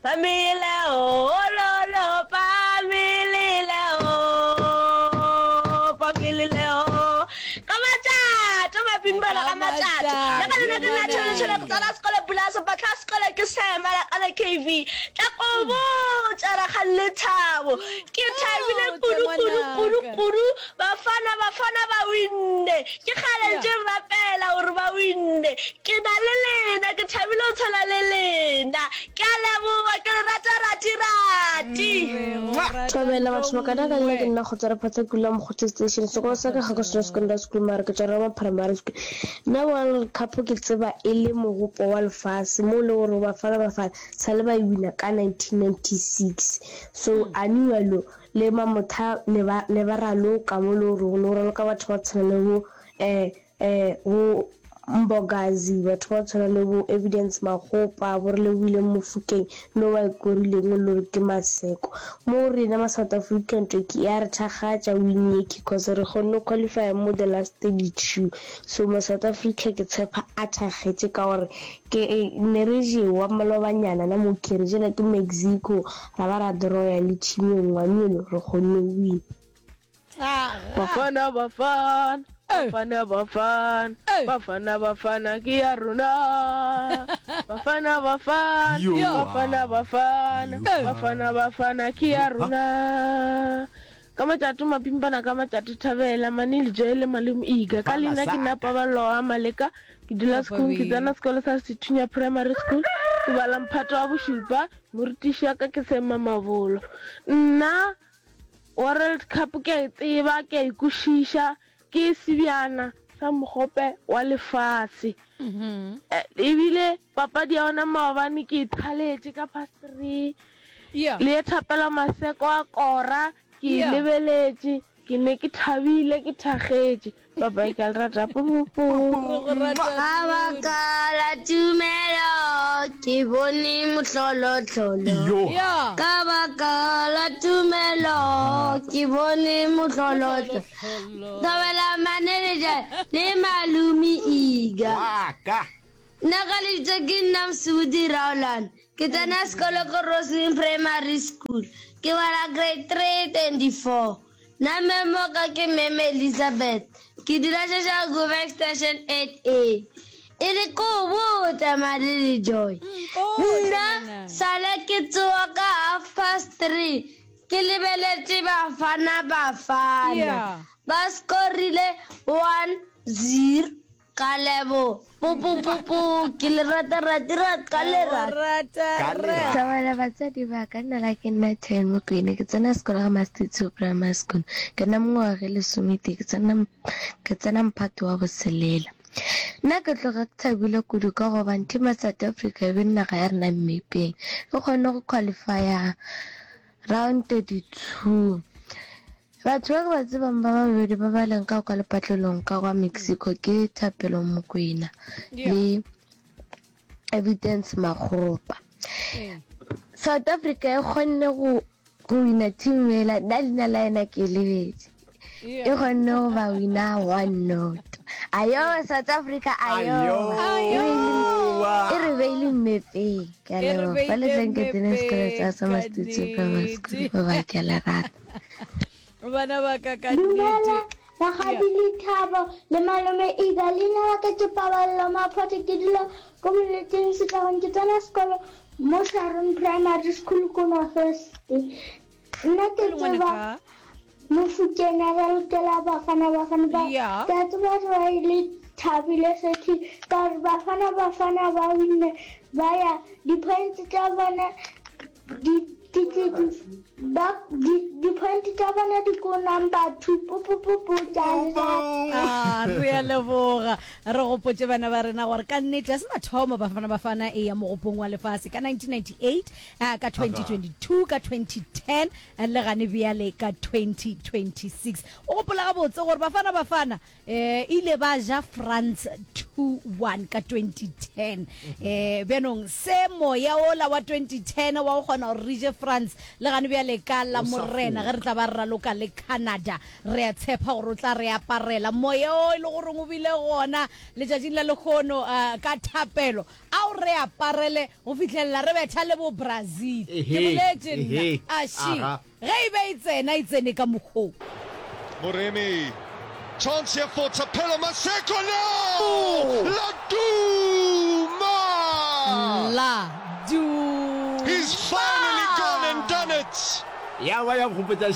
Pamile o, lo, pamile o, pamile o. Ka matšato, mapimpana ka matšato. Le ka lena ke nna tšhele tšhele ke tsena sekolo pula sepatla sekolo ke sema la kana KV. Tla ko botša rakgadi Lethabo. Ke thabile kudu kudu kudu kudu Bafana Bafana ba winne. Ke kgale ntše re rapela gore ba winne. Ke na le lena, ke thabile go tshwana le lena. Ke a leboga, ke le rata rati rati. Thobela batho ba kana ka nna ke nna Kgotsa Rephatsa ke dula Mokgotse Station sekolo sa ka ga ke sona secondary school mara ke tšwa Roma Primary School nna World Cup ke tseba e le mogopo wa lefase mo le gore Bafana Bafana sa le ba e wina ka 1996 so anualo Le Mamotha ne ba, ne ba raloka mo le gore go ne go raloka batho ba tshwana le bo, eh, eh, bo Mbokazi, batho ba tshwana le bo Evidence Makgopa, bo Relebohile Mofokeng, no ba e korileng o le gore ke Maseko. Mo rena ma South African twe ke ya re thakgatša win ye ke cause re kgonne go qualify mo the last 32. So ma South Africa ke tshepa a thakgetše ka gore Ke ne re jewa malobanyana na mo ke re jela ke Mexico ra ba ra draw-ya le team ye nngwe mme re kgonne go wina. Bafana Bafana Bafana Bafana Bafana Bafana ke ya rona Bafana Bafana Bafana Bafana Bafana Bafana ke ya rona Ka matšato mapimpana ka matšato Thabela Mane Lejoe le Malome Iga Ka leina ke nna Paballo wa Maleka Ke dula Sekgong Ke tsena sekolo sa Sethunya Primary School Ke bala mphato wa bošupa Morutiši wa ka ke Sam Mamabolo Nna World Cup ke a e tseba ke a e kwešiša Ke sebjana sa mogope wa lefase Ebile papadi ya ona maobane ke e thaletše ka past three Le ye Thapelo Maseko a kora, ke e lebeletše, ke ne ke thabile, ke thakgetše. Bye bye, ke a le rata. Pupupu. Ka baka la tumelo ke bone mohlolohlolo. Ka baka la tumelo ke bone mohlolohlolo. Thobela manager le malome Iga. Nna ka lebitso ke nna Mosibudi Rowland. Ke tsena sekolo ko Roslyn Primary School. Ke bala grade 324. Nna meme wa ka ke Meme Elizabeth. Ke dula Soshanguve Extension 8A. E re ko botša Madi le Joy. Nna sale ke tsoga ka half past 3 ke lebeletše Bafana Bafana. Ba scorile 1-0. Ka lebo. Po po po po ke le rata rati rat ka le rata. Ka le rata. Thobela batswadi ba ka nna la ke nna Ten Mokwena ke tsena sekolo ga Mastitso Primary School ke na mengwaga e lesometee ke tsena ke tsena mphato wa boselela nna ke tloga ke thabile kudu ka gobane team ya South Africa e be naga ya rena mmepeng e kgonne go qualifya round 32 Batho ba ke ba tsebang ba babedi ba ba leng ka kwa lepatlelong ka kwa Mexico ke Thapelo Mokwena le Evidence Makgopa. South Africa e kgonne go go wina team ela, nna leina la yena ke lebetse. E kgonne go ba wina one not. Ayowa South Africa ayowa. E re beile mmepeng. Ke a leboga. Ba le tleng ke tsene sekolo sa sa Mastitso Primary School. Bye bye ke a le rata. Bana ba ka ka Dumela, nnete. rakgadi Lethabo le malome Iga. Leina la ka ke Paballo Maphoto. Ke dula ko Moleteng Setlagong. Ke tsena sekolo mo Sharon Primary School ko North West. Nna ke Le ngwana tseba ka. Mofokeng a ralokela Bafana Bafana ba Yeah. ke a tseba gore ba ile thabile sethi ka gore Bafana Bafana ba winne ba ya di-points tša bona di di di di ba di di-point tša bona di ko number two pupupupu tša Ah, re a leboga re gopotše bana ba rena gore ka nnete a se mathomo bafana bafana e ya mogopong wa lefase ka 1998 ah, ka 2022 ka 2010 Le gane bjale ka 2026. O gopola gabotse gore Bafana Bafana e ile ba ja France 2. 2-1 ka 2010. Eh bjanong se moya ola wa 2010 wa go kgona gore re je France le gane bjale ka la Morena ge re tla ba re raloka le Canada re a tshepa gore o tla re aparela moya o e le goreng o bile gona letšatšing la lehono uh, ka thapelo a o re aparele go fihlelela re betha le bo Brazil ke boletše nna a she Ge e be e tsena, e tsene ka mokgwa wo. Moremi, chance here for Thapelo Maseko now! La Duma! La Duma! He's finally gone and done it! Ya ba ya nkgopotša.